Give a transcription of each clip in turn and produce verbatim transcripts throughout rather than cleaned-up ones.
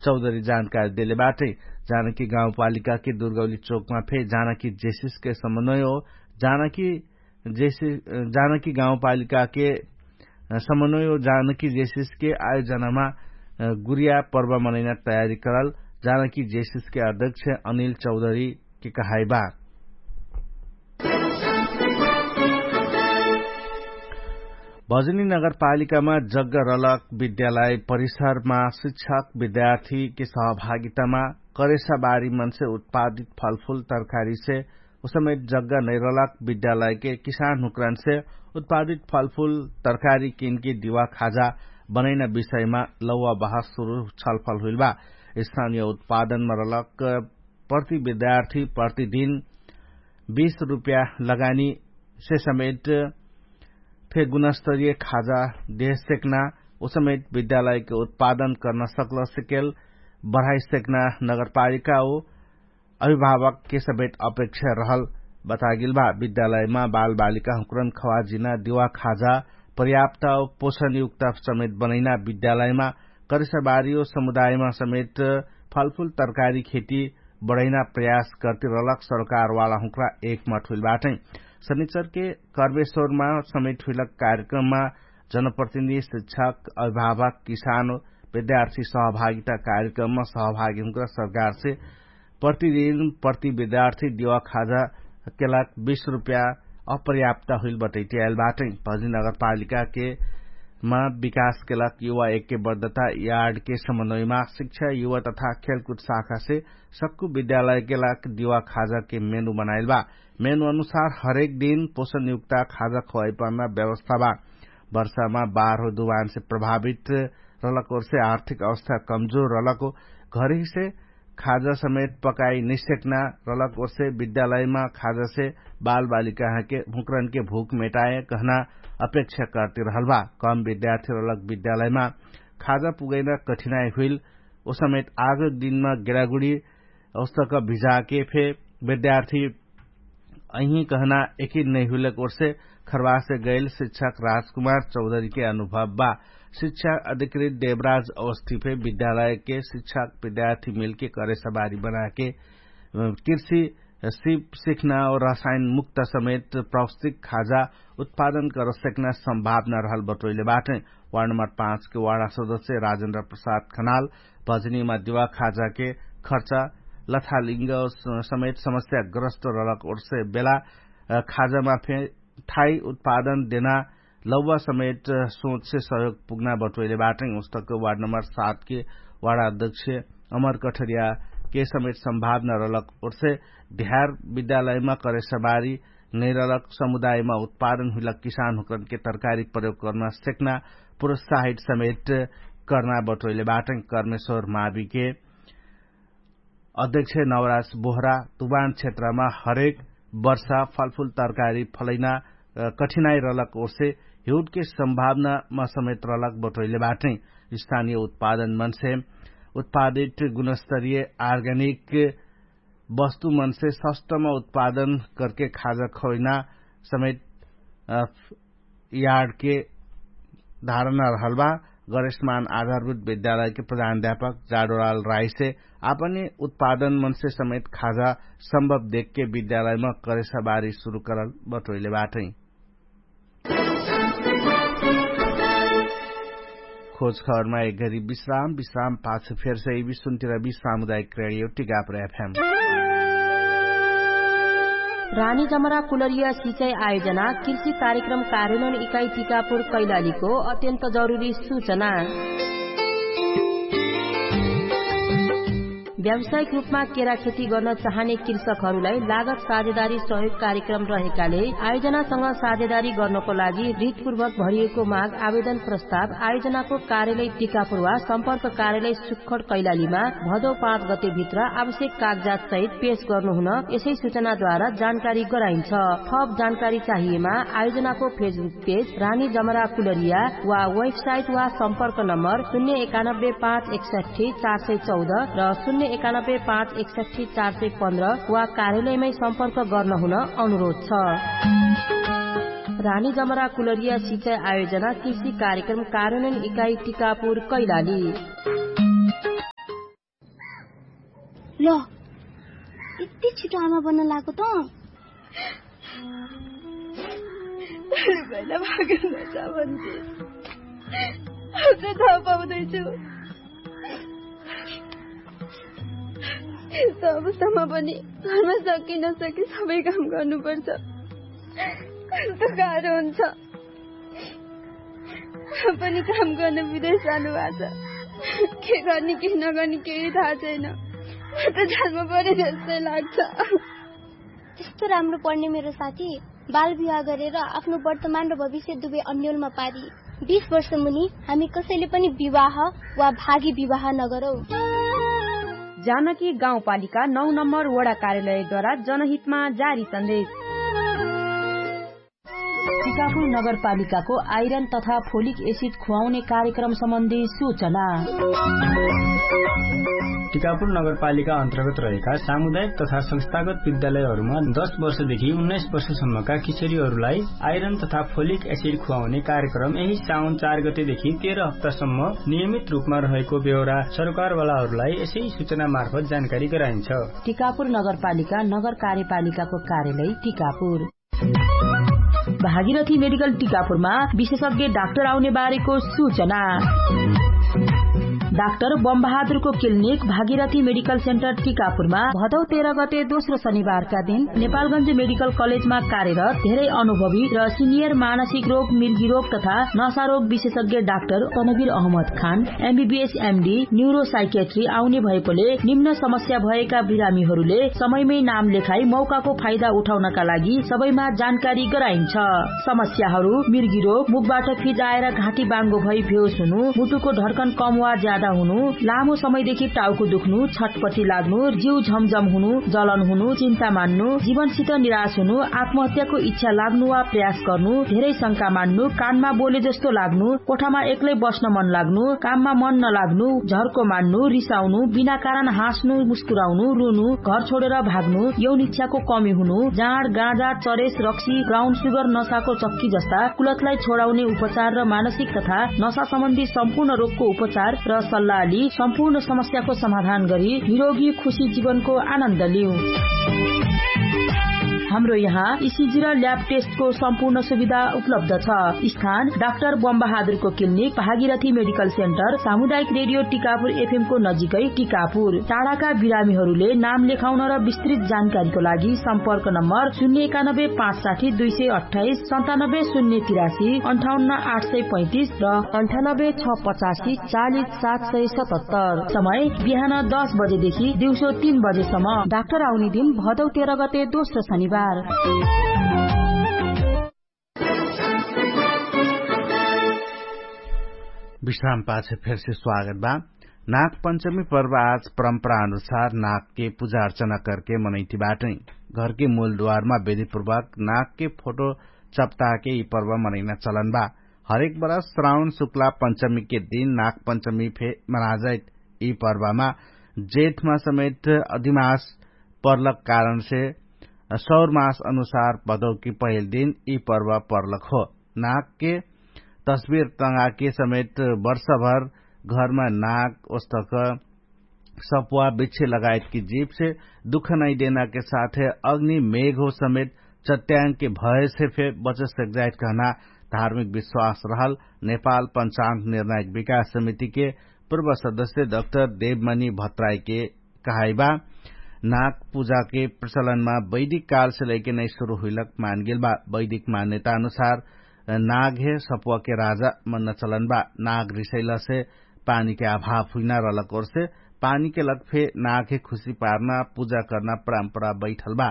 चौधरी जानकारी देले बाटै। जानकी गाउँपालिकाके दुर्गौली चोकमा फे जानकी जेसिसके समन्वय हो जानकी जेसिस जानकी गाउँपालिकाके समन्वय हो जानकी जेसिसके आयोजनामा गुरिया पर्व मनैना तयारी करल जानकी जेसिसके अध्यक्ष अनिल चौधरीके कहाइबा। भजनी नगरपालिकामा जग्ग रलक विद्यालय परिसरमा शिक्षक विद्यार्थीके सहभागितामा करेसाबारी मनसे उत्पादित फलफुल तरकारीसे उसमेत जग्ग नैरलक विद्यालयके किसान हुक्रनसे उत्पादित फलफुल तरकारी किनके दिवा खाजा बनैना विषयमा लौवा बहस सुरु छलफल हुइलबा। स्थानीय उत्पादनमा रलक प्रति विद्यार्थी प्रतिदिन बीस रुप्या लगानीसे समेट फे गुणस्तरीय खाजा देहसेक्ना उसमेट विद्यालयके उत्पादन कर्न सक्लसेकेल बढाइसेक्ना नगरपालिका हो अभिभावकके समेट अपेक्षा रहल बतागेल बा। विद्यालयमा बालबालिका हुक्रन खवाजिना दिवा खाजा पर्याप्त पोषणयुक्त समेट बनैना विद्यालयमा करिसबारियो समुदायमा समेट फलफुल तरकारी खेती बढैना प्रयास कर्ति रलक सरकारवाला हुक्रा एकमठ हुइल बाटै। शनिचरके कर्मेश्वरमा समेट हुइलक कार्यक्रममा जनप्रतिनिधि शिक्षक अभिभावक किसान विद्यार्थी सहभागिता कार्यक्रममा सहभागी हुक्रा सरकारसे प्रतिदिन प्रति विद्यार्थी दिवा खाजा केलाक बीस रुप्या अपर्याप्त हुइल बटैटियाइल बाटै। भजनी नगरपालिकाके मा विकास केलाक युवा एक्के बर्दता यार्डके समन्वयमा शिक्षा युवा तथा खेलकुद शाखासे सक्कु विद्यालयके लाग दिवा खाजाके मेनु बनाइल बा। मेनु अनुसार हरेक दिन पोषणयुक्ता खाजा खोवाइपाना व्यवस्था बा। वर्षामा बाह्र दुवानसे प्रभावित रलक ओर्से आर्थिक अवस्था कमजोर रलक हो घरहिसे खाजा समेत पकाइ निसेक्ना रलक ओर्से विद्यालयमा खाजासे बालबालिकाहँके हुँक्रनके भुक मेटाए कहना अपेक्षा कर्ति रहल बा। कम विद्यार्थी रलक विद्यालयमा खाजा पुगैना कठिनाइ हुइल ओ समेत आगक दिनमा गेडागुडी औस्तक भिजाके फे विद्यार्थी अहिँ कहना एकिन नैहुलक ओर्से खर्वासे गैल शिक्षक राजकुमार चौधरीके अनुभव बा। शिक्षा अधिकृत देवराज अवस्थिफे विद्यालयके शिक्षक विद्यार्थी मिलके करेसबारी बनाके कृषि सिप सिख्ना और रसायन मुक्त समेत प्रौष्टिक खाजा उत्पादन करसेक्ना सम्भावना रहल बटोइले बाटै। वार्ड नम्बर पाँचके वार्ड सदस्य राजेन्द्र प्रसाद खनाल भजनीमा दिवा खाजाके खर्चा लथालिङ्ग समेत समस्या ग्रस्त रहलक ओर्से बेला खाजामा फे ठाई उत्पादन देना लौवा समेत सोचसे सहयोग पुग्ना बटोइले बाटै। उस्तक वार्ड नम्बर सातके वार्ड अध्यक्ष अमर कठरियाके समेत सम्भावना रहलक ओर्से ध्यार विद्यालयमा करेसबारी नैरलक समुदायमा उत्पादन हुइलक किसान हुकरनके तरकारी प्रयोग कर्ना सेक्ना प्रोत्साहित समेत कर्ना बटोइले बाटै। कर्मेश्वर माविके अध्यक्ष नवराज बोहरा तुवान क्षेत्रमा हरेक वर्षा फलफुल तरकारी फलैना कठिनाइ रहलक ओर्से हिउटके सम्भावनामा समेत रहलक बटोइले बाटै। स्थानीय उत्पादन मनसे उत्पादित गुणस्तरीय आर्गेनिक वस्तु मनसे सस्तमा उत्पादन करके खाजा खौइना समेत यार्डके धारणा रहल बा। गणेशमान आधारभूत विद्यालयके प्रधान अध्यापक जाडोराल राइसे आपने उत्पादन मनसे समेत खाजा सम्भव देखके विद्यालयमा करेसाबारी सुरु करल बटोइले बाटै। खोज खबरमा एक घरी विश्राम विश्राम पाछ फेरसे विश्वन्तिर विश्राम उदायक रेडियो टिकापुर एफएम। रानी जमरा कुलरिया सिचाइ आयोजना कृषि कार्यक्रम कार्यनोन इकाइ टिकापुर कैलालीको अत्यन्त जरुरी सुचना। व्यावसायिक रूपमा केरा खेती गर्न चाहने कृषकहरूलाई लागत साझेदारी सहयोग कार्यक्रम रहेकाले आयोजनासँग साझेदारी गर्नको लागि रितपूर्वक भरिएको माग आवेदन प्रस्ताव आयोजनाको कार्यालय टिकापुर वा सम्पर्क कार्यालय सुक्खड कैलालीमा भदौ पाँच गतेभित्र आवश्यक कागजात सहित पेश गर्नुहुन यसै सुचनाद्वारा जानकारी गराइन्छ। थप जानकारी चाहिएमा आयोजनाको फेसबुक पेज रानी जमरा कुलरिया वा वेबसाइट वा सम्पर्क नम्बर शून्य एकानब्बे पाँच एकसट्ठी चार सय चौध र शून्य एकानब्बे पाँच एकसट्ठी चार सय पन्ध्र वा कार्यालयमै सम्पर्क गर्नुहुन अनुरोध छ। रानी जमरा कुलरिया सिचाइ आयोजना कृषि कार्यक्रम कार्यान्वयन इकाइ टिकापुर कैलाली। ल, यति छिटो आमा बन्न लागो त? तैँले पहिला भागेर नजा भन्थे। अझ थाहा पाउँदैछु। यस्तो अवस्थामा पनि घरमा सकि नसकि सबै काम गर्नुपर्छ। कस्तो गाह्रो हुन्छ। पनि काम गर्न विदेश जानुभएको छ। के गर्ने के नगर्ने केही थाहा छैन। म त जानमा परे जस्तै लाग्छ। त्यस्तो राम्रो पढ्ने मेरो साथी बाल विवाह गरेर आफ्नो वर्तमान र भविष्य दुवै अन्यलमा पारी बिस वर्ष मुनि हामी कसैले पनि विवाह वा भागी विवाह नगरौँ। जानकी गाउँपालिका नौ नम्बर वडा कार्यालयद्वारा जनहितमा जारी सन्देश। टिकापुर नगरपालिकाको आइरन तथा फोलिक एसिड खुवाउने कार्यक्रम सम्बन्धी सूचना। टिकापुर नगरपालिका अन्तर्गत रहेका सामुदायिक तथा संस्थागत विद्यालयहरूमा दस वर्षदेखि उन्नाइस वर्षसम्मका किशोरीहरूलाई आइरन तथा फोलिक एसिड खुवाउने कार्यक्रम यही साउन चार गतेदेखि तेह्र हप्तासम्म नियमित रूपमा रहेको बेहोरा सरकारवालाहरूलाई यसै सूचना मार्फत जानकारी गराइन्छ। टिकापुर नगरपालिका नगर कार्यपालिकाको कार्यालय टिकापुर। भागीरथी मेडिकल टिकापुरमा विशेषज्ञ डाक्टर आउने बारेको सूचना। डाक्टर बमबहादुरको क्लिनिक भागीरथी मेडिकल सेन्टर टिकापुरमा भदौ तेह्र गते दोस्रो शनिबारका दिन नेपालगञ्ज मेडिकल कलेजमा कार्यरत धेरै अनुभवी र सिनियर मानसिक रोग मिर्गी रोग तथा नशा रोग विशेषज्ञ डाक्टर तनवीर अहमद खान एमबीबीएस एमडी न्युरोसाइकेट्री आउने भएकोले निम्न समस्या भएका बिरामीहरूले समयमै नाम लेखाई मौकाको फाइदा उठाउनका लागि सबैमा जानकारी गराइन्छ। समस्याहरू मिर्गी रोग, मुखबाट फिजाएर घाँटी बाङ्गो भई भेउस हुनु, मुटुको ढर्कन कम वा ज्यादा हुनु, लामो समयदेखि टाउको दुख्नु, छटपटी लाग्नु, जिउ झमझम हुनु, जलन हुनु, चिन्ता मान्नु, जीवनसित निराश हुनु, आत्महत्याको इच्छा लाग्नु वा प्रयास गर्नु, धेरै शंका मान्नु, कानमा बोले जस्तो लाग्नु, कोठामा एक्लै बस्न मन लाग्नु, काममा मन नलाग्नु, झर्को मान्नु, रिसाउनु, बिना कारण हाँस्नु, मुस्कुराउनु, रुनु, घर छोडेर भाग्नु, यौन इच्छाको कमी हुनु, जाँड गाँजा चरेस रक्सी ब्राउन सुगर नसाको चक्की जस्ता कुलतलाई छोडाउने उपचार र मानसिक तथा नसा सम्बन्धी सम्पूर्ण रोगको उपचार र सल्लाहली सम्पूर्ण समस्याको समाधान गरी निरोगी खुशी जीवनको आनन्द लिउ। हाम्रो यहाँ इसिजी र ल्याब टेस्टको सम्पूर्ण सुविधा उपलब्ध छ। स्थान डाक्टर बमबहादुरको क्लिनिक भागीरथी मेडिकल सेन्टर सामुदायिक रेडियो टिकापुर एफएमको नजिकै टिकापुर। टाढाका बिरामीहरूले नाम लेखाउन र विस्तृत जानकारीको लागि सम्पर्क नम्बर शून्य एकानब्बे पाँच साठी दुई सय अट्ठाइस सन्तानब्बे शून्य तिरासी अन्ठाउन्न आठ सय पैँतिस र अन्ठानब्बे छ पचासी चालिस सात सय सतहत्तर। समय बिहान दस बजेदेखि दिउँसो तीन बजेसम्म। डाक्टर आउने दिन भदौ तेह्र गते दोस्रो शनिबार। विश्राम पाछे फेरसे स्वागत बा। नाग पञ्चमी पर्व आज परम्परा अनुसार नागके पुजा अर्चना करके मनैति बाटै। घरके मूलद्वारमा बेदिपूर्वक नागके फोटो चप्ताके यि पर्व मनैना चलन बा। हरेक बरस श्राउन शुक्ला पञ्चमीके दिन नाग पञ्चमी फे मनाजाइत। यि पर्वमा जेठमा समेत अधिमास पर्लक कारणसे सौरमास अनुसार भदौकी पहिल दिन यि पर्व पर्लक हो। नागके तस्बिर तँगाके समेत वर्षभर घरमा नाग ओस्तक सप्वा बिच्छे लगायतकी जीवसे दुख नैदेनाके साथे अग्नि मेघो समेत चट्याङ्के भयसे फे बचसक जाइत कहना धार्मिक विश्वास रहल नेपाल पञ्चाङ्ग निर्णायक विकास समितिके पूर्व सदस्य डक्टर देवमनी भत्राइके कहाइबा। नाग पुजाके प्रचलनमा वैदिक कालसे लैके नै सुरु हुइलक मानगेलबा। वैदिक मान्यता अनुसार नागहे सप्वाके राजा मन्न चलनबा। नाग रिसैलसे पानीके अभाव हुइना रहलक ओरसे पानीके लग फे नागहे खुशी पार्ना पुजा कर्ना परम्परा बैठलबा।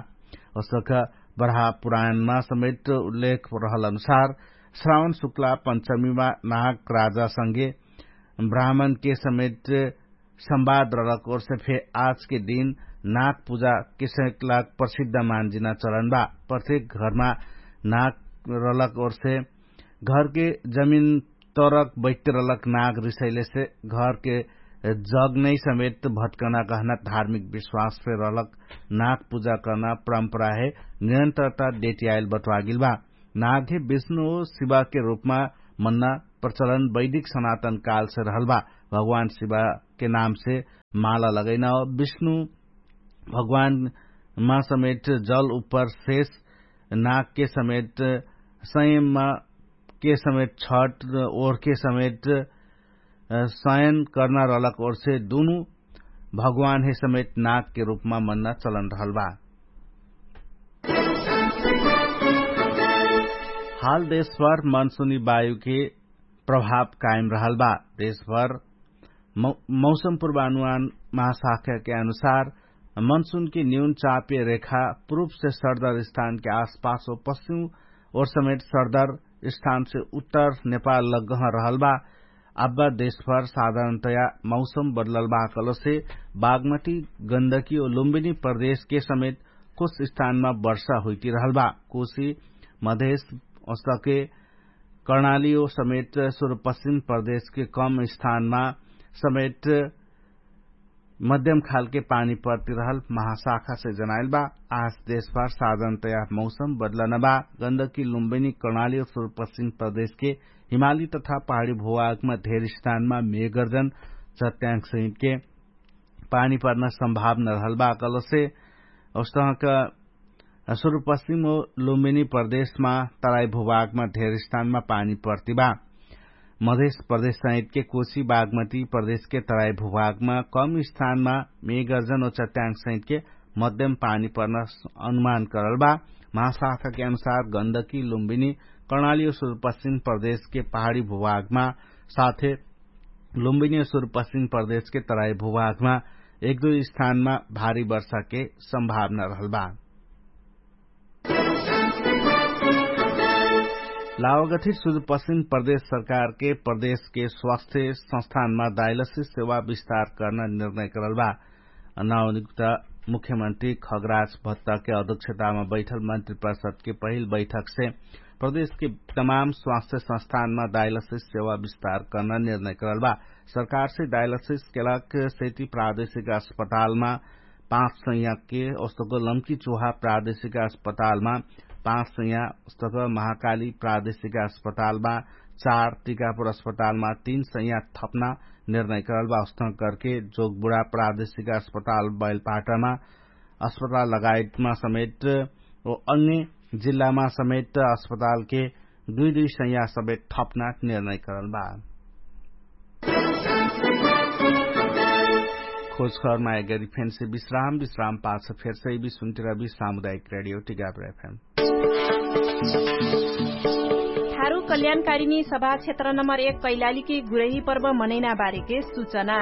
असक बढा पुराणमा समेट उल्लेख रहल अनुसार श्रावण शुक्ला पञ्चमीमा नाग राजासँगे ब्राह्मणके समेट सम्वाद रहलक ओरसे फे आजके दिन नाग पुजा किसैक लाग प्रसिद्ध मान्जिना चलनबा। प्रत्येक घरमा नाग रहलक ओरसे घरके जमिन तरक बैठरलक नाग रिसैलेसे घरके जग नै समेत भटकना कहना धार्मिक विश्वास फे रहलक। नाग पुजा कर्ना परम्पराहे निरन्तरता देटियाइल बट्वागिलबा। नागहे विष्णु शिवाके रूपमा मन्ना प्रचलन वैदिक सनातन कालसे रहलबा। भगवान शिवाके नामसे माला लगैना विष्णु भगवानमा समेट जल उप्पर शेष नागके समेट संयममा के समेट छट ओरके समेट सयन कर्ना रहलक ओरसे दुनु भगवानहे समेट नागके रूपमा मन्ना चलन रहल बा। हाल देशभर मनसुनी वायुके प्रभाव कायम रहल बा। देशभर मौसम पूर्वानुमान महाशाखाके अनुसार मनसुनके न्यून चापे रेखा पुरुपसे सरदर स्थानके आसपास हो पश्चिम ओर समेट सरदर स्थानसे उत्तर नेपाल लग्गह रहल बा। अब्बा देशभर साधारणतया मौसम बदलल बा कलसे बागमती गन्दकी ओ लुम्बिनी प्रदेशके समेत कुछ स्थानमा वर्षा हुइती रहल बा। कुशी मधेश ओसके कर्णाली ओ समेत सुरुपश्चिम प्रदेशके कम स्थानमा समेत मध्यम खालके पानी पर्तिरहल महाशाखासे जनाइल बा। आज देशभर साधन तयार मौसम बदलन बा। गन्दकी लुम्बिनी कर्णाली ओ सुरुपश्चिम प्रदेशके हिमाली तथा पहाडी भुवागमा धेर स्थानमा मेगर्जन चट्याङ्ग सहितके पानी पर्न सम्भावना रहल बा कलसे औस्तहक सुरुपश्चिम ओ लुम्बिनी प्रदेशमा तराई भुवागमा धेर स्थानमा पानी पर्ति बा। मधेश प्रदेश सहितके कोशी बागमती प्रदेशके तराई भुवागमा कम स्थानमा मेगर्जन ओ चट्याङ्ग सहितके मध्यम पानी पर्न अनुमान करल बा। महाशाखाके अनुसार गन्दकी लुम्बिनी कर्णाली ओ सुरुपश्चिम प्रदेशके पहाडी भुवागमा साथे लुम्बिनी ओ सुरुपश्चिम प्रदेशके तराई भुवागमा एक दुई स्थानमा भारी वर्षाके सम्भावना रहल बा। लावागथी सुरुपश्चिम प्रदेश सरकारके प्रदेशके स्वास्थ्य संस्थानमा डायलसिस सेवा विस्तार कर्ना निर्णय करल बा। नवनियुक्त मुख्यमन्त्री खगराज भत्ताके अध्यक्षतामा बैठल मन्त्री प्रसादके पहिल बैठकसे प्रदेशके तमाम स्वास्थ्य संस्थानमा डायलसिस सेवा विस्तार कर्ना निर्णय करल बा। सरकारसे डायलसिस केलाक सेती प्रादेशिक अस्पतालमा पाँच सैयाके ओस्तक लम्की चुहा प्रादेशिक अस्पतालमा पाँच सैया ओस्तक महाकाली प्रादेशिक अस्पतालमा चार टिकापुर अस्पतालमा तीन सैया थप्ना निर्णय करल बा। ओस्तक करके जोगबुडा प्रादेशिक अस्पताल बैलपाटामा अस्पताल लगायतमा समेत ओ अन्य जिल्लामा समेत अस्पतालके दुई दुई सैया समेत थप्ना निर्णय करल बा। खोजखबरमा एगरी फेन्से विश्राम विश्राम पाछ फेर्सै बि सुन्टिरबि सामुदायिक रेडियो टिगापुर एफएम। थारु कल्याणकारिणी सभा क्षेत्र नम्बर एक कैलालीकी गुरही पर्व मनैना बारेके सुचना।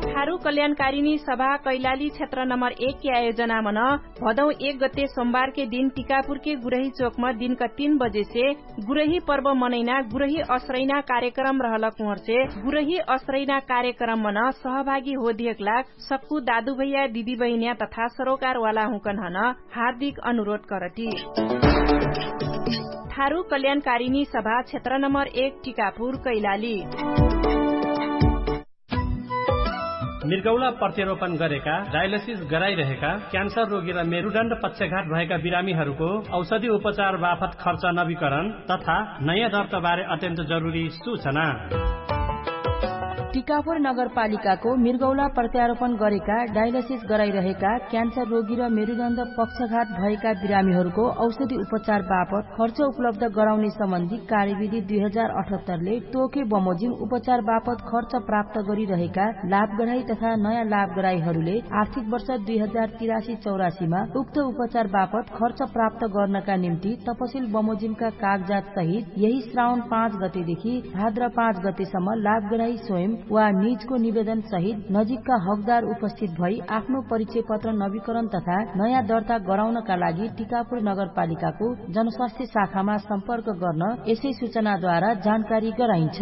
थारु कल्याणकारिणी सभा कैलाली क्षेत्र नम्बर एकके आयोजनामन भदौ एक गते सोमबारके दिन टिकापुरके गुरही चोकम दिनक तीन बजेसे गुरही पर्व मनैना गुरही असरैना कार्यक्रम रहलक उहर्से गुरही असरैना कार्यक्रममन सहभागी होधियकला सक्कु दादुभैया दिदीबहिन्या तथा सरोकारवाला हुँकन्हन हार्दिक अनुरोध करटी। थारु कल्याणकारिणी सभा क्षेत्र नम्बर एक टिकापुर कैलाली। मिर्गौला प्रत्यारोपण गरेका डायलसिस गराइरहेका क्यान्सर रोगी र मेरुडण्ड पक्षघात भएका बिरामीहरूको औषधि उपचार बाफत खर्च नवीकरण तथा नयाँ दर्ताबारे अत्यन्त जरुरी सूचना। टिकापुर नगरपालिकाको मिर्गौला प्रत्यारोपण गरेका डायलसिस गराइरहेका क्यान्सर रोगी र मेरुदण्ड पक्षघात भएका बिरामीहरूको औषधि उपचार बापत खर्च उपलब्ध गराउने सम्बन्धी कार्यविधि दुई हजार अठहत्तरले तोके बमोजिम उपचार बापत खर्च प्राप्त गरिरहेका लाभगराई तथा नयाँ लाभगराईहरूले आर्थिक वर्ष दुई हजार तिरासी चौरासीमा उक्त उपचार बापत खर्च प्राप्त गर्नका निम्ति तपसिल बमोजिमका कागजात सहित यही श्रावण पाँच गतेदेखि भाद्र पाँच गतेसम्म लाभगराई स्वयं वा निजको निवेदन सहित नजिकका हकदार उपस्थित भई आफ्नो परिचय पत्र नवीकरण तथा नयाँ दर्ता गराउनका लागि टिकापुर नगरपालिकाको जनस्वास्थ्य शाखामा सम्पर्क गर्न यसै सूचनाद्वारा जानकारी गराइन्छ।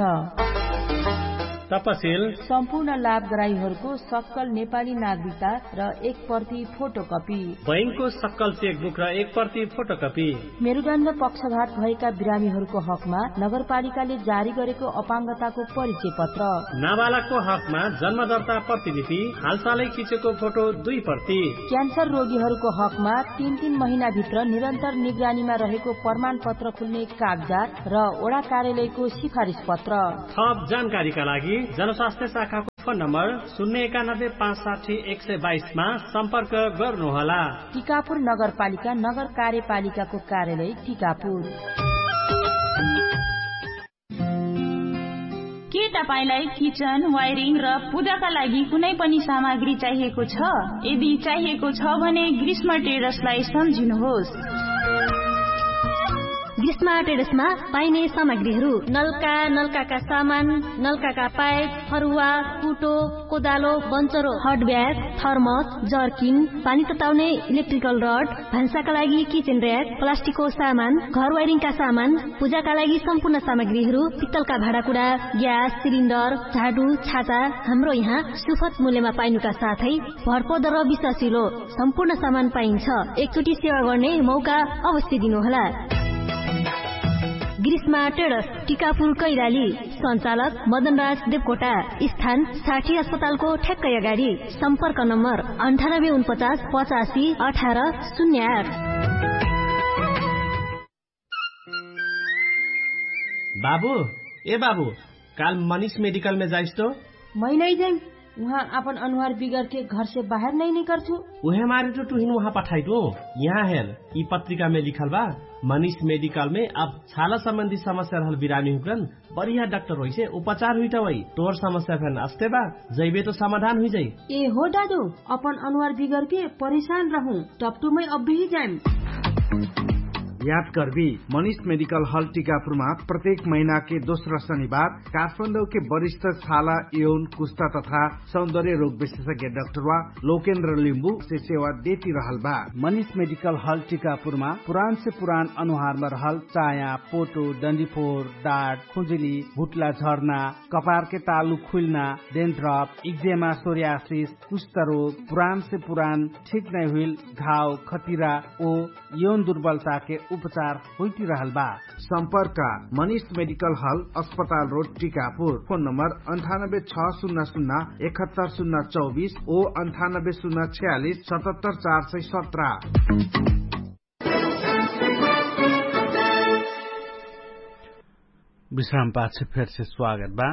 तपसिल सम्पूर्ण लाभगराईहरूको सक्कल नेपाली नागरिकता र एक प्रति फोटोकपी बैंकको सक्कल चेकबुक र एक प्रति फोटोकपी। मेरुदण्ड पक्षघात भएका बिरामीहरूको हकमा नगरपालिकाले जारी गरेको अपाङ्गताको परिचय पत्र। नाबालकको हकमा जन्मदर्ता प्रतिलिपि हालसालै खिचेको फोटो दुई प्रति। क्यान्सर रोगीहरूको हकमा तीन तीन महिनाभित्र निरन्तर निगरानीमा रहेको प्रमाणपत्र खुल्ने कागजात र ओडा कार्यालयको सिफारिस पत्र। थप जानकारीका लागि जनस्वास्थ्य शाखाको फोन नम्बर शून्य एकानब्बे पाँच साठी एक सय बाइसमा सम्पर्क गर्नुहोला। टिकापुर नगरपालिका नगर कार्यपालिकाको कार्यालय टिकापुर। के तपाईंलाई किचन वायरिङ र पूजाका लागि कुनै पनि सामग्री चाहिएको छ? यदि चाहिएको छ भने ग्रीष्म ट्रेडर्सलाई सम्झिनुहोस्। ग्रीष्म ट्रेडर्समा पाइने सामग्रीहरू नलका, नलकाका सामान, नलकाका पाइप, फरुवा, कुटो, कोदालो, बन्चरो, हट ब्याग, थर्मस, जर्किन, पानी तताउने इलेक्ट्रिकल रड, भान्साका लागि किचन र्याक, प्लास्टिकको सामान, घर वायरिङका सामान, पूजाका लागि सम्पूर्ण सामग्रीहरू, पित्तलका भाँडाकुडा, ग्यास सिलिन्डर, झाडु, छाता, हाम्रो यहाँ सुफत मूल्यमा पाइनुका साथै भरपर्दो र विश्वासिलो सम्पूर्ण सामान पाइन्छ। एकचोटि सेवा गर्ने मौका अवश्य दिनुहोला। ग्रीष्मा ट्रेडर्स, टिकापुर कैलाली। सञ्चालक मदनराज देवकोटा। स्थान साठी अस्पतालको ठ्याक्कै अगाडि। सम्पर्क नम्बर अन्ठानब्बे उनपचास पचासी अठार शून्य आठ। बाबु, ए बाबु, काल मनिष मेडिकलमे जाइस तो? मै नै जाइम। उहाँ आपन अनुहार बिगरके घरसे बाहेर नै निकर्छु। उहे मारे तो टुहिन उहाँ पठाइटु। यहाँ हेर, यि पत्रिकामे लिखल बा, मनिष मेडिकलमे अब छाला सम्बन्धी समस्या रहल बिरामी हुकरन बढिया डाक्टर होइसे उपचार हुइटा वइ। तोर समस्या फेन अस्ते बा, जैबे तो समाधान हुइजाइ। ए हो दादु, अपन अनुहार बिगरके परेशान रहु, टपटुमै अब्बेही जाइम। याद कर्बी, मनिष मेडिकल हल टिकापुरमा प्रत्येक महिनाके दोस्रा शनिबार काठमाडौके वरिष्ठ छाला, यौन, कुस्ता तथा सौन्दर्य रोग विशेषज्ञ डाक्टरवा लोकेन्द्र लिम्बुसे सेवा देति रहल बा। मनिष मेडिकल हल टिकापुरमा पुरानसे पुरान अनुहारमा रहल चाया, पोटो, डन्डिफोर, डाट, खुजुली, भुट्ला झर्ना, कपारके तालु खुइल्ना, डेन्ड्रप, इक्जेमा, सोर्यासिस, कुष्ठरोग, पुरानसे पुरान ठिक नै हुइल घाव, खतिरा ओ यौन दुर्बलताके उपचार होइतिरहल बा। सम्पर्क मनिष मेडिकल हल, अस्पताल रोड, टिकापुर। फोन नम्बर अन्ठानब्बे छ सुन्ना सुन्ना एकहत्तर सुन्ना चौबिस ओ अन्ठानब्बे सुन्ना छयालिस सतहत्तर चार सय सत्र। विश्राम पाछ फेरसे स्वागत बा।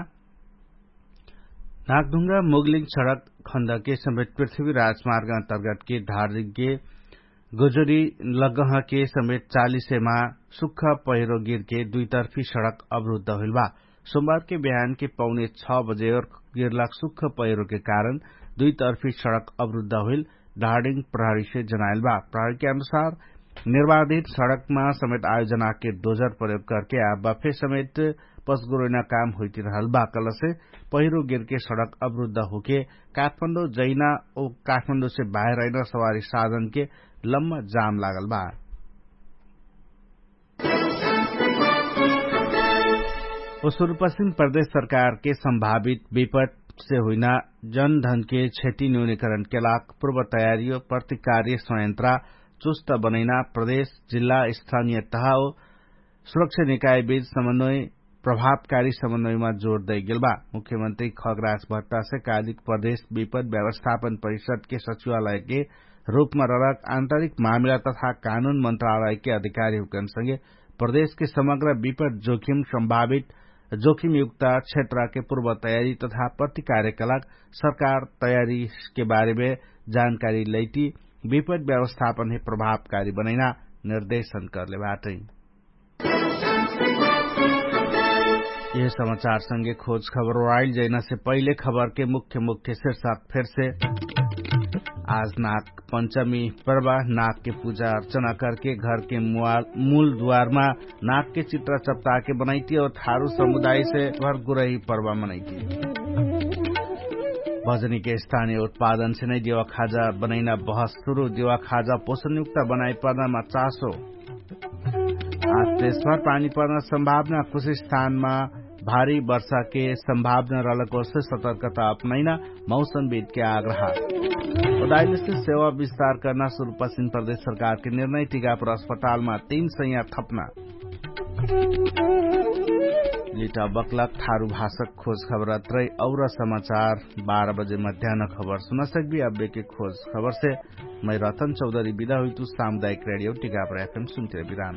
नागढुङ्गा मुगलिङ सडक खण्डके समेत पृथ्वी राजमार्ग अन्तर्गतके धार्जिङके गोजरी लगहके समेत चालिसेमा सुख पहिरो गिरके दुइतर्फी सडक अवरुद्ध होइल बा। सोमबारके बिहानके पौने छ बजे और गिरलाक सुख पहिरोके कारण दुइतर्फी सडक अवरुद्ध होइल धार्डिङ प्रहरीसे जनाइल बा। प्रहरीके अनुसार निर्वाधित सडकमा समेत आयोजनाके डोजर प्रयोग करके आबा फे समेत पसगुरैना काम होइतिरहल बा कलसे पहिरो गिरके सडक अवरुद्ध होके काठमाडौं जैना ओ काठमाडौंसे बाहेर अइना सवारी साधनके लम्मा जाम लागल बा। ओ सुरुपश्चिम प्रदेश सरकारके सम्भावित विपटसे हुइना जनधनके क्षति न्यूनीकरणके लाग पूर्व तयारी ओ प्रतिकार्य संयन्त्रा चुस्त बनैना प्रदेश जिल्ला स्थानीय तहा ओ सुरक्षा निकायबीच समन्वय प्रभावकारी समन्वयमा जोर दैगेल बा। मुख्यमन्त्री खगराज भट्टासे कालिक प्रदेश विपद व्यवस्थापन परिषदके सचिवालयके रूपमा ररक आन्तरिक मामिला तथा कानुन मन्त्रालयके अधिकारीहुकनसँगे प्रदेशके समग्र विपद जोखिम सम्भावित जोखिमयुक्त क्षेत्रके पूर्व तयारी तथा प्रतिकार्यकलाक सरकार तयारीके बारेमे जानकारी लैटी विपद व्यवस्थापनहे प्रभावकारी बनैना निर्देशन करले बाटै। यह समाचार संगे खोज खबर ओराइल जैना से पहिले खबर के मुख्य मुख्य शीर्षक फेर से। आज नाक पंचमी पर्वा नाक के पूजा अर्चना करके घर के मूल द्वारमा नाक के चित्र चप्ता के बनैती और थारु समुदाय से घर गुरही पर्वा मनैती। भजनी के स्थानीय उत्पादन से नै देवा खाजा बनैना बहस सुरु। देवा खाजा पोषणयुक्त बनाइ पर्नामा चासो। आज देशभर पानी पर्न सम्भावना कुछ स्थानमा भारी वर्षाके सम्भावना रहलक ओर्से सतर्कता अपनैना मौसमविदके आग्रह। उदाइलसे सेवा विस्तार कर्ना सुरु पश्चिम प्रदेश सरकारके निर्णय टिकापुर अस्पतालमा तीन सैया थप्ना। लिटा बक्लक थारु भाषक खोज खबर अत्रै और समाचार बाह्र बजे मध्यान खबर सुनसक्बी। अब्बेके खोज खबरसे मै रतन चौधरी बिदा हुइतु। सामुदायिक रेडियो टिकापुर एफएम सुन्ते बिराम।